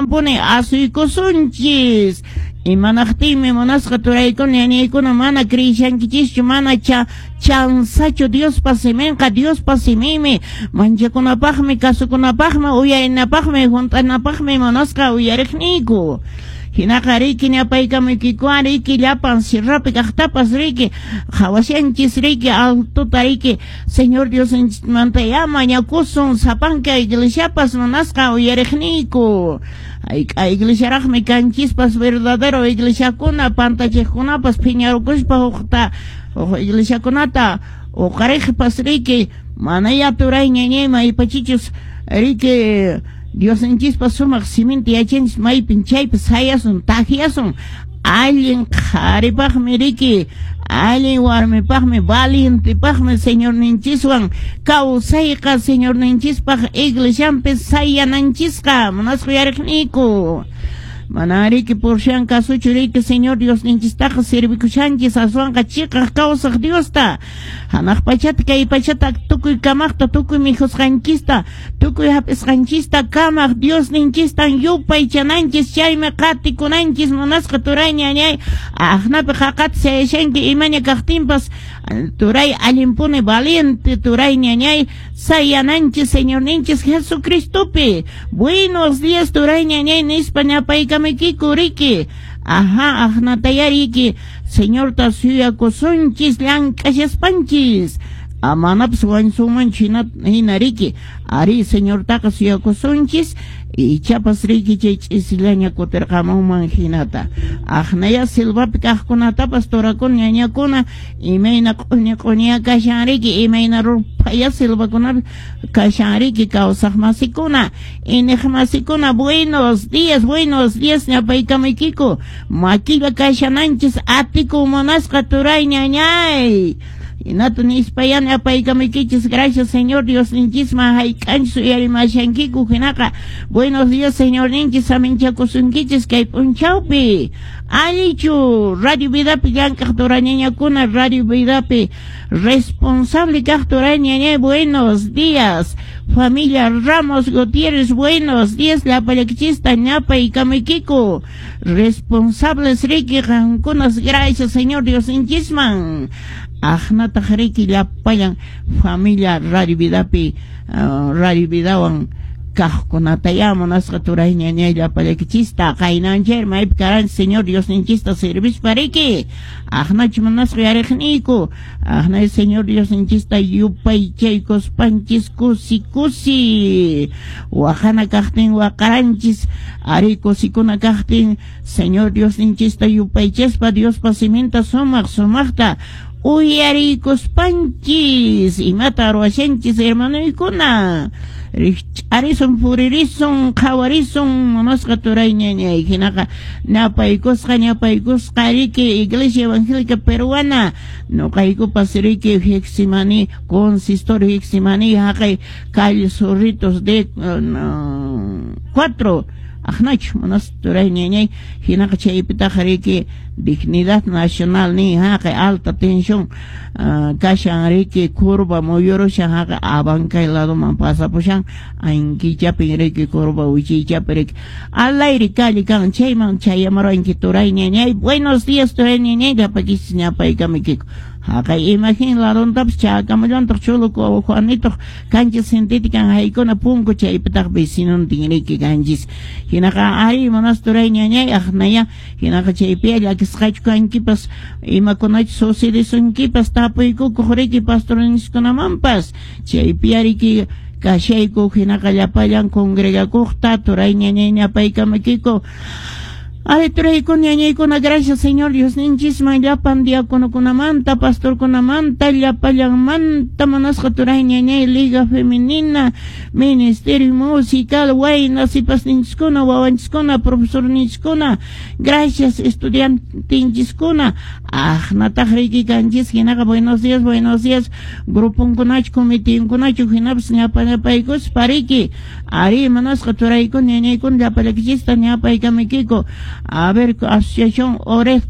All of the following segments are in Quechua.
Señormanpuni asuykusunchis. Imanaqtinmi, munasqa turaykuna, ñañaykuna, mana creishankichischu? Mana chansachu Diospa siminqa, Diospa siminmi. Manchakunapaqmi, kasukunapaqmi, uyarinapaqmi, hunt'anapaqmi, munasqa uyariqniyku. Hinaqa riki ñapaykamuykikuwan riki llapan sierrapi kaqtapas riki qhawashanchis riki altota riki. Señor Diosninchikmanta ya mañakusun sapanka iglesiapas, munasqa uyariqniyku. Hayk'a iglesiaraqmi kanchispas verdadero iglesiakuna, pantachiqkunapas phiñarukuspa hukta huk iglesiakunata uqariqpas riki. Manaya, turay, ñañay, maypachichus riki Diosninchispa sumaq siminta yachanchis, maypin chaypi sayasun, takyasun. Allin qharipaqmi riki, allin warmipaqmi, valientepaqmi Señorninchiswan kawsayqa, Señorninchispaq iglesianpi sayananchisqa, munasqa uyariqniyku. Mana riki por si acasochu riki Señor Diosninchistaqa servikushanchis, aswanqa chiqaq kawsaq Diosta, hanaq pachata kay pachata tukuy kamaqta, tukuy mikhusqanchista, tukuy hap'isqanchista kamaq Diosninchistan yupaychananchis, chaymi qatikunanchis, munasqa turay, ñañay. Aqnapi qaqata sayashanki imaña kaqtinpas, turay, allinpuni valiente, turay, ñañay, sayananchis Señorninchis Jesucristopi. Buenos días, turay, ñañay, nispa ñapaykamuykiku riki. Ajá, aqnataya riki Señorta suyakusunchis llank'ashaspanchis, amanapas wañusunmanchu hina riki. Ari, Señortaqa suyakusunchis, ichapas riki chay ch'isillaña kutirqamunman hinata. Aqnaya silvapi kaqkunatapas, turakuna, ñañakuna, imayna q'uñi q'uñiya kashan riki, imayna ruphaya silvakunapi kashan riki. Kawsaq masikuna, iniq masikuna, buenos días, buenos días ñapaykamuykiku. Makilla kashananchis atiku, munasqa turay, ñañay. Hinata nispaya ñapaykamuykichis. Gracias Señor Diosninchisman hayk'anchis uyarimashankiku. Hinaqa buenos días, Señorninchis saminchakusunkichis kay p'unchawpi. Allichu Radio Vidapi llank'aq turañañakuna, Radio Vidapi responsable kaq turay, ñañay, buenos días. Familia Ramos Gutiérrez, buenos días, llapallakichista ñapaykamuykiku. Responsables riki qankunas, gracias Señor Diosninchisman. Aqnataq riki llapallan familia Radio Vidapi, Radio Vidawan kaqkunataya, munasqa turay, ñañay, llapallakichista. Qaynanchayri maypi karanchis Señor Diosninchista servispa riki? Aqnachu, munasqa yariqniyku? Aqnay Señor Diosninchista yupaychaykuspanchis kusi kusi, waqana kaqtin waqaranchis, ari kusikuna kaqtin Señor Diosninchista yupaychaspa, Diospa siminta sumaq sumaqta uyariykuspanchis. Imata ruwashanchis, hermanoykuna? Rikch'arisun, puririsun, qhawarisun, munasqa turay, ñañay. Hinaqa ñapaykusqa, ñapaykusqa riki Iglesia Evangélica Peruana nuqaykupas riki Getsemaní, consistorio Getsemaní, haqay calle Zorritos de 4, aqnachu, munasqa turay, ñañay? Hinaqa chaypitaqa riki Dignidad Nacional ni haqay alta tensión kashan riki, curva muyurushan, haqay Abancay ladoman pasapushan, ankichapin riki, curva wichiychapi riki, alayri calle kan, chayman chayamaruanki, turay, ñañay. Buenos días, turay, ñañay, llapakichis ñapaykamuykiku. Haqay Imagen ladontapas chakamallantaq Cholo Juanito cancha sintética haykuna punku, chaypitaq vecinontin riki kanchis. Hinaqa ari, munasqa turay, ñañay, aqnaya hinaqa chaypi llakisqachu kankipas, imakunachu sucedesunkipas, tapuykukuq riki pastorniskunamanpas, chaypi riki kashayku. Hinaqa llapallan congregakuqta, turay, ñañay, ñapaykamaykiku. Ari, turaykuna, ñañaykuna, gracias Señor Diosninchisman llapan diáconokunamanta, pastorkunamanta, llapallanmanta, munasqa turay, ñañay, Liga Femenina, Ministerio Musical, wayna sipasninchiskuna, wawanchiskuna, profesorninchiskuna, gracias estudiantinchiskuna, aqnataq riki kanchis. Hinaqa buenos días, buenos días, gruponkunachu, comitinkunachu, hinapas ñapa ñapaykuspa riki. Ari, munasqa turaykuna, ñañaykuna, llapallakichista ñapaykamaykiku. A ver, Asociación Ored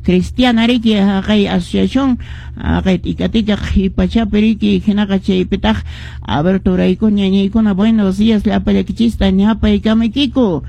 Cristiana riki, haqay asociación haqay tika tika qhipachapi riki. Hinaqa chaypitaq, a ver, turaykuna, ñañaykuna, buenos días, llapallakichista ñapaykamaykiku.